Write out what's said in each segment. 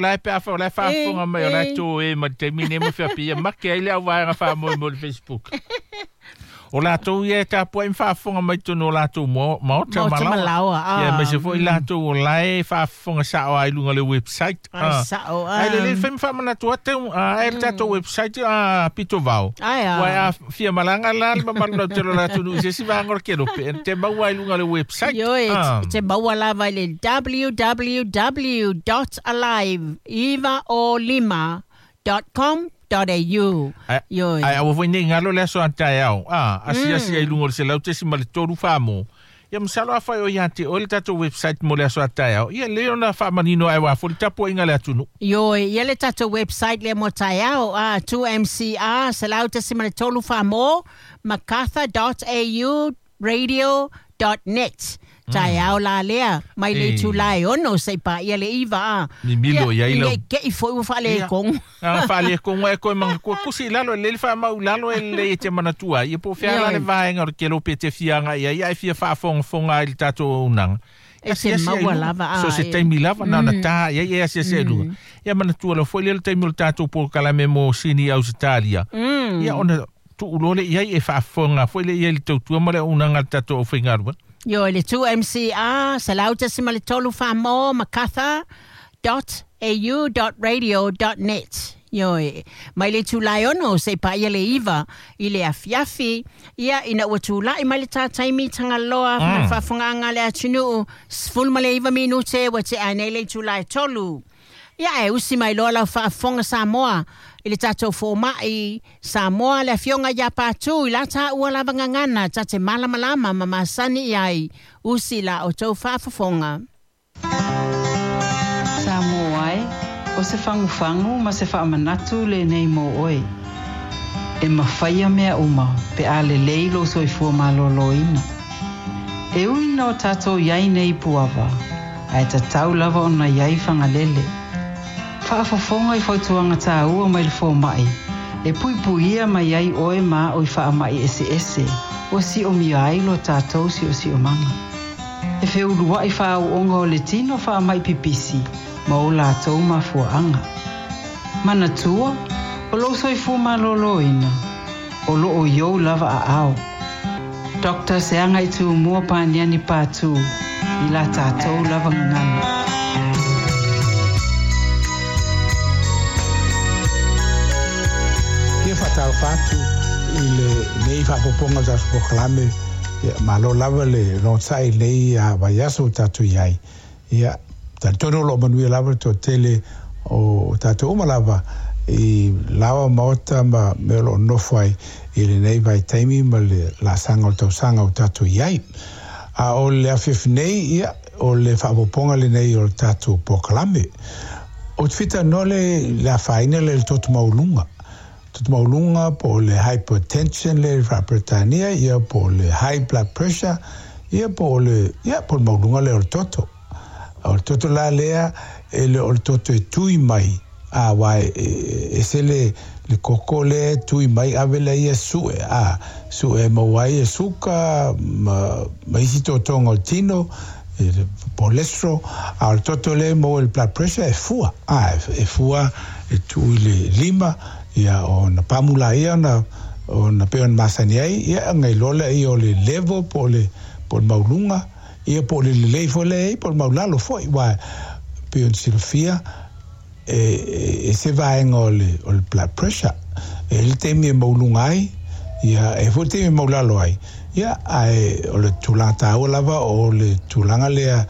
La e pe a fa o la e faafofoga mai o la e toe ma le taimi lenei ma faapea ia make ai le au vaega faamoemoe o le Facebook. O latou ia e tapuai ma faafofoga mai totonu o latou maota ma laoa. Ia aemaise foi latou o la e faafofoga sao lava i luga o le website. Ai sao Ae lelei le fai ma faamanatu atu ai le tatou website pito vao. Ae a. Ua a fia malaga la le mamalu lautele o le atunuu i se isi vaega o le kelope, e te maua i luga o le website. Ioe, e te maua lava i le www.alive905.com.au. Ioe. Ae aua foi nei galo le aso a taeao, asiasi ai i luga o le 100.3 Samoa. Ia masalo afai o ia te oe le tatou website mo le aso a taeao, ia lelei ona faamanino ae aua foi le tapuaiga a le atunuu. Ioe, ia le tatou website lea mo taeao, 2MCR 100.3 Samoa, macarthur.au radio.net. Taeao la lea, mai le itula e 6 seia paia le 9 a. Mimilo i ai lau. Ina i te i foi ua faaletonu. Ia, faaletonu ai koe manatua. Tusi i lalo, e lelei le faamau i lalo e lelei e te manatua ai. Ia po o fea la le vaega o le kelope e te fia agai ai, ae fia faafogafoga ai i le tatou auaunaga. E te maua lava a. So se taimi lava, na ona ta i ai e asiasi ai i luga. Ia manatua loa foi lea le taimi o le tatou polokalame mo Sini Ausetalia. Ia ona tuu loa lea i ai e faafofoga foi lea i ai i le tautua ma le auaunaga a le tatou aufaigaluega. Ioe, le 2MCR, 100.3 Samoa, Macarthur dot au dot radio dot net. Ioe, mai le itula e 6 seia paia le 9 i le afiafi, ia, ina ua tulai mai le tā taimi Tagaloa ma le faafofogaaga a le atunuu, 19 minute ua tea nei le itula e 3. Ia, ae usi mai loa lau faafofoga Samoa i le tatou fomai Samoa le Afioga ia Patu i la taua lava gagana ta te malamalama ma masani i ai, usi la outou faafofoga. Samoa e, o se fagufagu ma se faamanatu lenei mo oe. E mafaia mea uma pe a lelei lou soifua malōlōina. E ui ina o tatou i ai nei i Puava, ae tatau lava ona i ai Fagalele. Faafofoga i fautuaga tāua mai le fomai, e puipuia mai ai oe ma a'u i faamai eseese ua siomia ai lo tatou siosiomaga. E feulua'i faaau'oga o le tino faamai pipisi ma o latou mafuaaga. Manatua, o lou soifua malōlōina, o loo i ou lava aao. Doctor Seagaitūmua Paniani Patu i la tatou lava gagana. Fia faatalofa atu i lenei faaopoopoga o le tatou polokalame, ia malo lava le logosa'i i lenei vaiaso ua tatou i ai. Ia, talitonu o lo o manuia lava le toatele o tatou uma lava i laoa maota ma mea o lo o nofo ai i lenei vaitaimi ma le laasaga o le tausaga ua tatou i ai. A o le afiafi nei, ia, o le faaopoopoga lenei o le tatou polokalame. Ou te fia talanoa le i le afaina lea i le toto maualuga. Toto maualuga po o le hypertension lea i le Faa-Peretania, ia, po o le high blood pressure, ia, po o le, ia, po o le maualuga lea o le toto. O le toto la lea, e le o le toto e tui mai, a, aua e, e ese le, le koko lea e tui mai ave lea ia sue, a, sue e maua ai e suka ma, ma isi totoga o le tino, e le cholesterol, a o le toto lea e maua i le blood pressure e fua, a, e fua e tuu i le lima, ia ona pamu laia ona, ona pei ona masani ai, ia ona iloa lea o le level po o le, po o le maualuga, ia po o le lelei foi lea e i ai po o le maulalo foi, aua pei ona silafia, e ese vaega o le, o le blood pressure. E i ai le taimi e maualuga ai, ia, e i ai foi le taimi e maulalo ai, ia, ae o le tulaga taua lava o le tulaga lea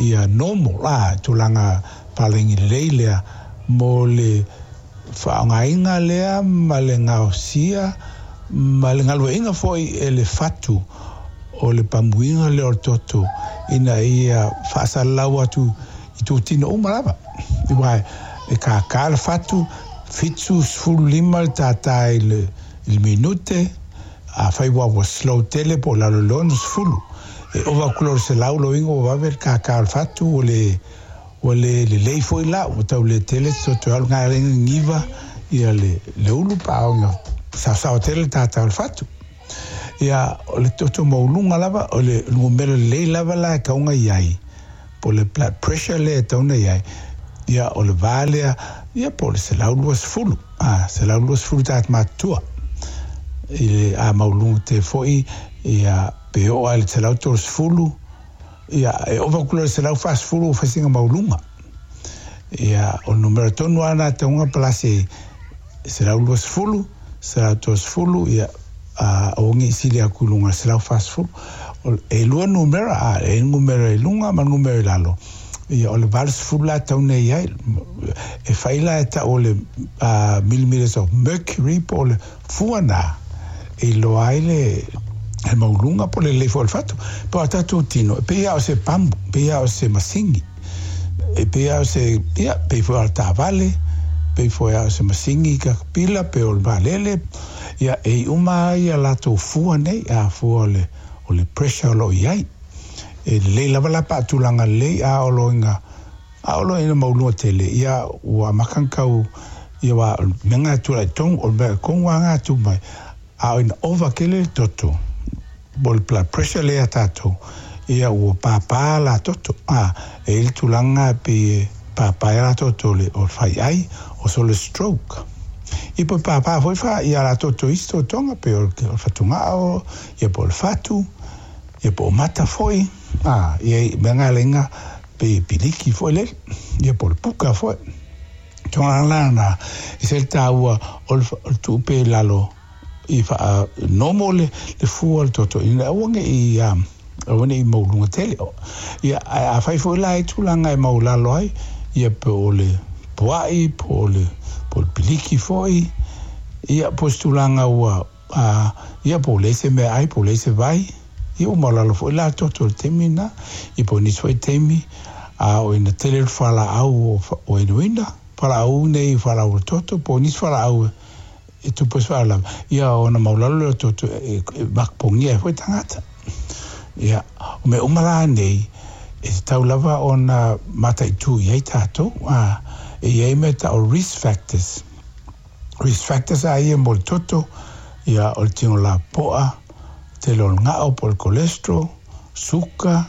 ia normal, a, tulaga palagi lelei lea mo le faaaogaina lea ma le gaosia ma le galueaiina foi e le fatu o le pamuiga lea o le toto ina ia faasalalau atu i totino uma lava. Aua e kākā le fatu, 75 le tātā i le minute, afai ua ua slow tele po o lalo i le 60. E ova atu loa i le 100 loiga ua vave le kākā o le fatu, ua le ua le lelei foi la, ua tau le tele te toto e alu ngai ala ina giva le le ulu pa a ona saosao tele le tātā o le fatu. Ia, o le toto maualuga lava, o le numera lelei lava la e tatau ona i ai, po o le blood pressure lea e tatau ona i ai, Ia o le va lea ia po o le 120, a 120 tagata matutua. I le a maualuga tele foi ia pe oo lava i le 130, ia e ova atu loa i le 140 ua fai sina maualuga. Ia o le numera tonu lava lena e tatau ona palasi ai, 120, 130, ia aua ne i sili atu i luga i le 140. E lua numera, a e i ai le numera i luga ma le numera i lalo. Ia o le 80 la e tatau ona i ai. E fai la e tau o le millimeters of mercury po o le fua lena e iloa ai le maualuga po o le lelei foi o le fatu. Po o a tatou tino, e pei lava o se pamu, e pei lava o se masini, e pei lava o se, ia, pei foi o le taavale, pei foi lava o se masini kakapila, pe o le vaalele. Ia, e i uma lava ia latou fua nei, a fua o le pressure o lo o i ai. E lelei lava la pe a tulaga lelei, a o lo ina, a o lo ina maualuga tele, ia ua amata ona tau, ia aua o le mea lena e tulai tonu, o le mea tonu lava lena e tu mai, a o ina ova tele le toto, po o le blood pressure lea ia tatou, ia ua pāpā la toto, a, e i ai le tulaga lena e pei e pāpā ai la toto o le faiai, o so le stroke. Ia po o pāpā foi fa, ia la toto i isi totoga, pei o le fatugao, ia po o le fatu, ia po o mata foi, a, ia i mea nga lenga pe piliki foi lele, ia po o le puka foi. Tulaga la na, e se le taua o le tuupe i lalo i faa normal le fua o le toto ina aua ne i aua ne i maualuga tele. Ia, ae afai foi la e tulaga e maulalo ai, ia po o le puai, po o le piliki foi, ia po o se tulaga ua A, ia, po o leai se meaai, po o leai se vai, ia ua maulalo foi la toto i le taimi lena. Ia po o nisi foi taimi, a o ina tele le fualaau o inuina, fualaau nei fualaau o le toto, po o nisi fualaau e tupu ai se faalavelave, ia ona maulalo lea o le toto e mapogia ai foi tagata. Ia, o mea uma la nei, e tatau lava ona mataitu i ai tatou, a, e i ai mea tau o risk factors. Risk factors a ia mo le toto, ia o le tino lapoa, tele o le gao po o le cholesterol, suka,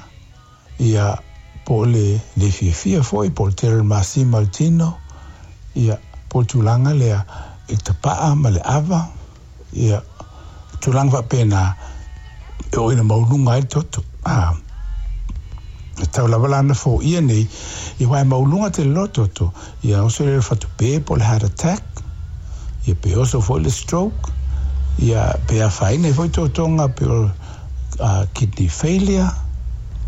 ia po o le le fiafia foi, po o le tele o le masima o le tino, ia po o le tulaga lea i le tapaa ma le ava, ia tulaga faapena e oo ina maualuga ai le toto. A e tau lava la ona foia nei, ia aua e maualuga tele loa toto, ia oso lea i le fatupe po o le heart attack, ia pe oso foi le stroke, ia pe afaina ai foi totoga pe o kidney failure,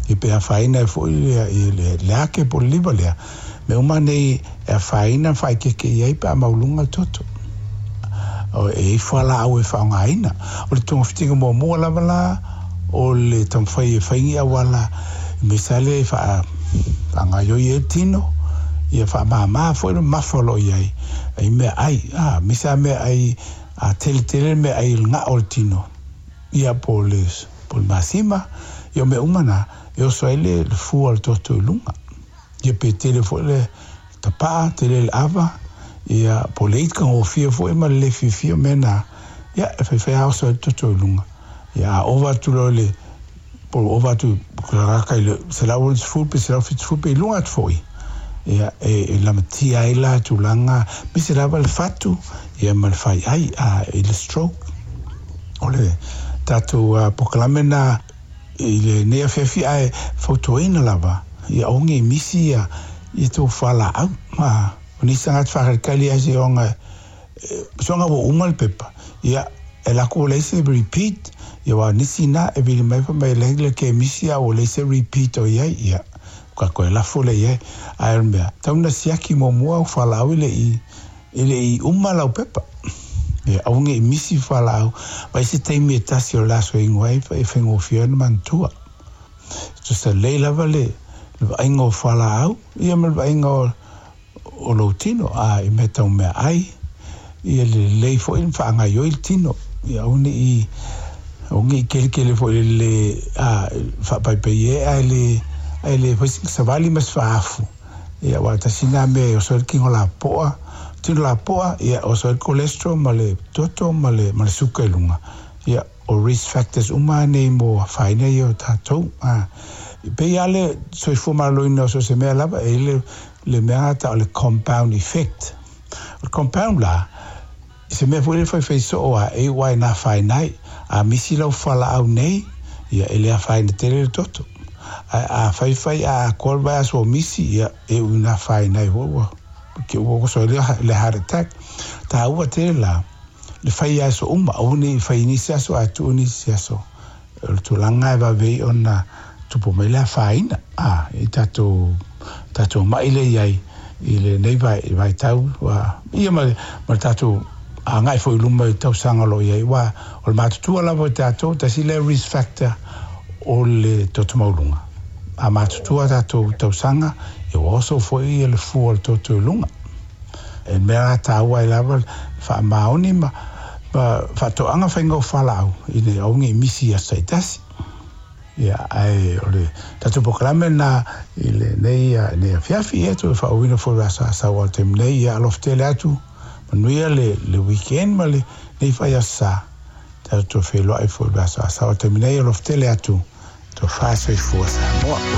ia pe afaina ai foi le le ake po o le liver lea. Mea uma nei e afaina ma faaekeeke i ai pe a maualuga le toto. O e i fualaau e faaaogaina. O le togafitiga muamua lava la o le taumafai e fai ni auala i mea lea e faagaoioi ai le tino, ia faamāmā foi le mamafa o lo o i ai, i meaai, a, aemaise lava meaai a teletele le meaai i le gao o le tino, ia po o le, po o le masima, ia o mea uma na, e oso ai le fua o le toto i luga. Ia pe tele foi le tapaa, tele le ava, ia po o le ika gofie foi ma le le fiafia o mea na, ia e faifai lava oso ai le toto i luga. Ia a ova atu loa i le, po o ova atu raka i le 160 pe 170 pe i luga atu foi, ia e lamatia ai la tulaga, aemaise lava le fatu, ia ma le faiai, a i le stroke. O le tatou polokalame lena i lenei afiafi ae fautuaina lava ia aua nei misi ia ia tou fualaau. A o nisi tagata faakalikali lava seioga soga ua uma le pepa ia e lako ua leai se repeat ia aua o nisi na e vili mai fai mai e leai le kemisi a ua leai se repeat o i ai ia ka toe lafo lea i ai. Ae o le mea tatau ona siaki muamua au fualaau e le i E le i uma lau pepa. E aua ne i misi fualaau, mai se taimi e tasi o le aso e ingoa ai e faigofie ai ona manatua. Tusa lelei lava le vaaiga o fualaau ia ma le vaaiga o lou tino, a i mea tau meaai, ia le lelei foi ona faagaoioi le tino, ia aua ne i aua ne i kelikeli foi i le le a faapaipai e ae le ae le fai sina savali ma se faaafu. Ia, aua tasi lena mea e oso ai le tino lapoa, tino lapoa, ia, oso ai le cholesterol ma le toto ma le, ma le suka i luga. Ia, o risk factors uma lava nei mo afaina ia o tatou. A, e pei lava le soifua maloloina o so o se mea lava, e i ai le le mea ta'u o le compound effect. O le compound la, se mea foi lea e faifai soo a e iu lava ina afaina ai. A misi lau fualaau nei, ia e le afaina tele le toto. Ae a faifai a atoa le vaiaso o misi, ia e iu ina afaina ai foi ua ke ua oso ai le heart attack. Taua tele la le fai i aso uma, aua ne i fai i nisi aso ae tuu nisi aso. O le tulaga e vave ai ona tupu mai le afaina a i tatou tatou ma'i lea i ai i lenei vaitau ua ia ma le tatou agai foi i luma i tausaga o lo o i ai aua o le matutua lava o tatou tasi lea risk factor o le toto maualuga. A matutua tatou tausaga ia ua oso foi le fua o le toto i luga. E mea taua ai lava le faamaoni ma faatoaga faiga o fualaau ina ia aua ne i misi i aso taitasi. Ia, ae o le tatou polokalame lena i lenei nei afiafi, ia toe faauuina foi le aso Asau o le taimi nei. Ia alofa tele atu, manuia le, le weekend ma lenei fai aso sa. Tatou toe feiloai foi i le aso Asau o le taimi nei, alofa tele atu, tofa soifua Samoa.